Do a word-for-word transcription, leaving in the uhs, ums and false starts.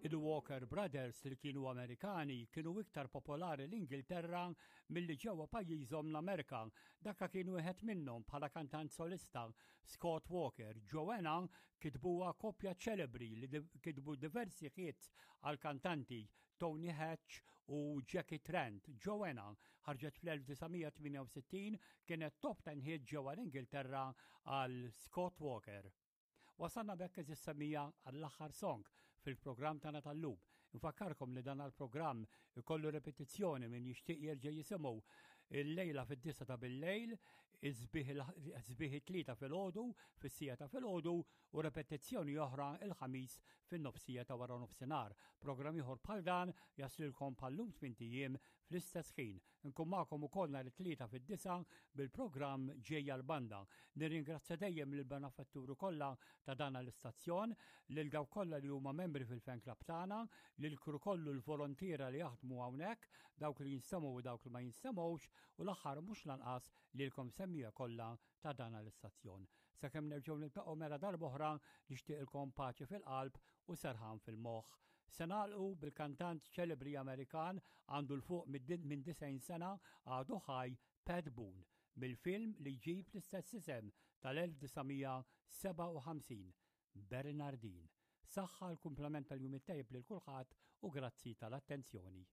Il-Walker Brothers, li kienu Amerikani, kienu iktar popolari l-Ingilterra milli ġewwa pajjiżhom l-Amerika. Dakka kienu wieħed minnhom bħala kantant solista, Scott Walker. Joanna kitbuha koppja ċelebri li kitbu diversi hits għal kantanti Tony Hatch u Jackie Trent. Joanna ħarġet fl-elf disa' mija tmienja u sittin, kienet top ten hit ġewwa l-Ingilterra għal Scott Walker. Wasanna b'hekk, għeżież semmiegħa, għall-aħħar song fil-programm tagħna tal-lum. Infakkarkom li dan il-programm ikollu repetizzjoni, min jixtieq jerġa' jisimgħu, il-lejla fid-disgħa ta' bil-lejl, sbieħ it-Tlieta filgħodu, fis-siegħa ta' filgħodu, u repetizzjoni oħra il-Ħamis fin-nofsija ta' wara nofsinhar. Programm ieħor bħal dan jaslilkom bħal-lum tmint ijiem fl-istess ħin. Nkun magħkom ukoll nhar it-Tlieta fid-disgħa bil-programm Ġejja l-Banda. Nirringrazzja dejjem lill-benefatturi kollha ta' dan l-istazzjon, lil dawk kollha li huma membri fil-fan club tagħna, lil crew kollu, l-volontiera li jaħdmu hawnhekk, dawk li jinstemgħu u dawk li ma jinstemgħux, u l-aħħar mhux lanqas lilkom semmiegħa kollha ta' dan l-istazzjon. Sakemm nerġgħu niltaqgħu mela darb'oħra, nixtieqilkom paċi fil-qalb u serħan fil-moħħ. Se nagħlqu bil-kantant ċelebri Amerikan, għandu 'l fuq minn disgħin sena, għadu ħaj, Pat Boone, mill-film li jġib l-istess isem tal-elf disa' mija sebgħa u ħamsin, Bernardin. Saħħa, l-kumplament tal-jum it-tajjeb lil kulħadd u grazzi tal-attenzjoni.